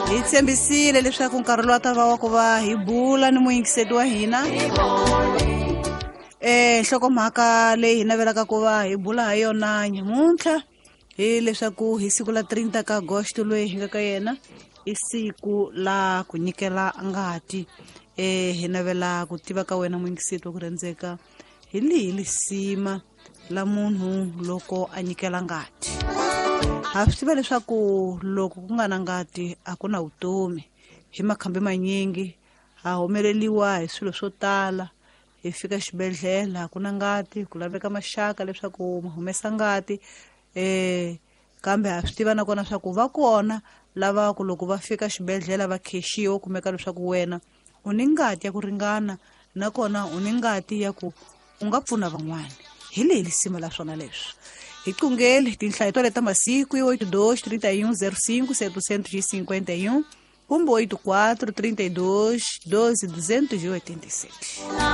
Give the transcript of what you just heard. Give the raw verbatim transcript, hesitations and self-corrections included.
Hi tshembisile leswaku nkarhi lowu a ta va wa ku va hi bula ni muyingiseti wa hina. Eh nhlokomhaka leyi hi navelaka ku va hi bula ha yona nyamuntlha hi leswaku hi siku la thirty ka Agosto loyi hi nga ka yena i siku la ku nyikela ngati. Eh hi navela ku tiva ka wena muyingiseti wa ku rhandzeka hi lihi lisima la munhu loko a nyikela ngati. Ha swi tiva leswaku loko ku nga na ngati a ku na vutomi. Hi makhambi manyingi ha humeleliwa hi swilo swo tala. Hi fika xibedhlele a ku na ngati, ku laveka maxaka leswaku ma humesa ngati. Eh kambe ha swi tiva nakona swa ku va kona lava ku loko va fika xibedhlele va khexiwa, kumeka leswaku wena u ni ngati ya ku ringana nakona u ni ngati ya ku u nga pfuna van'wana. Hi leyi lisima la swona leswi. Hi qungele tinhlayo to leta masiku oito dois trinta e um zero cinco setecentos e cinquenta e um kumbe oito quatro trinta e dois doze duzentos e oitenta e sete.